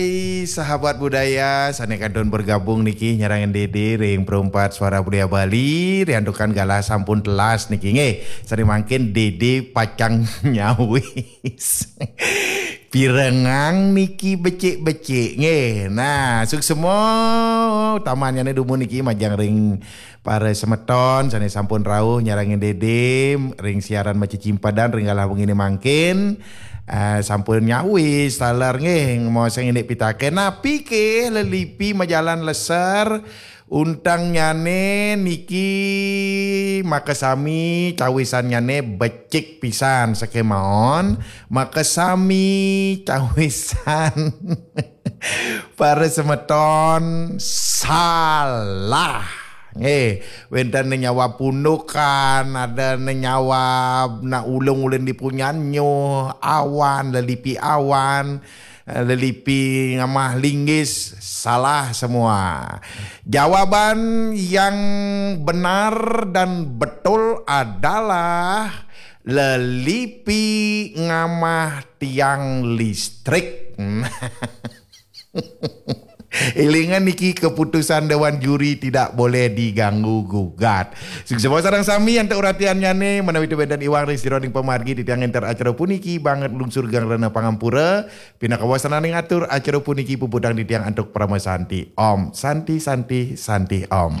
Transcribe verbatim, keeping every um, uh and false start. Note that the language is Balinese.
Hai, sahabat budaya, sané kantun bergabung niki nyarengin Dédé ring Perempat Suara Budaya Bali, riantukan galah sampun telas niki nggih. Sané mangkin Dédé pacang nyawis. Pirengang niki becik-becik nggih. Nah, suksma utamanyané dumun niki majeng ring para semeton sané sampun rauh nyarengin Dédé ring siaran macimpadan ring galah wenginé mangkin. Eh, sampun nyawis taler nggih, maosang indik pitaken, napi ké lelipi majalan leser, untangnyané niki makasami cawisannyané becik pisan, sakémaon makasami cawisan. Para semeton, salah. Eh, wénten nyawa pundukan, ada nyawa na ulung ulun di punyan nyuh, awan, lelipi awan, eh, lelipi ngamah linggis, salah semua. Jawaban yang benar dan betul adalah lelipi ngamah tiang listrik. Élingan niki keputusan dewan juri tidak boleh diganggu gugat. Suksma sareng sami antuk uratiannyané, menawi wénten iwang ring sira ning pamargi titiang ngénter acara puniki banget lungsur geng rena pangampura, pinaka wasananing atur acara puniki puputang titiang antuk parama santi. Om Santi Santi Santi Om.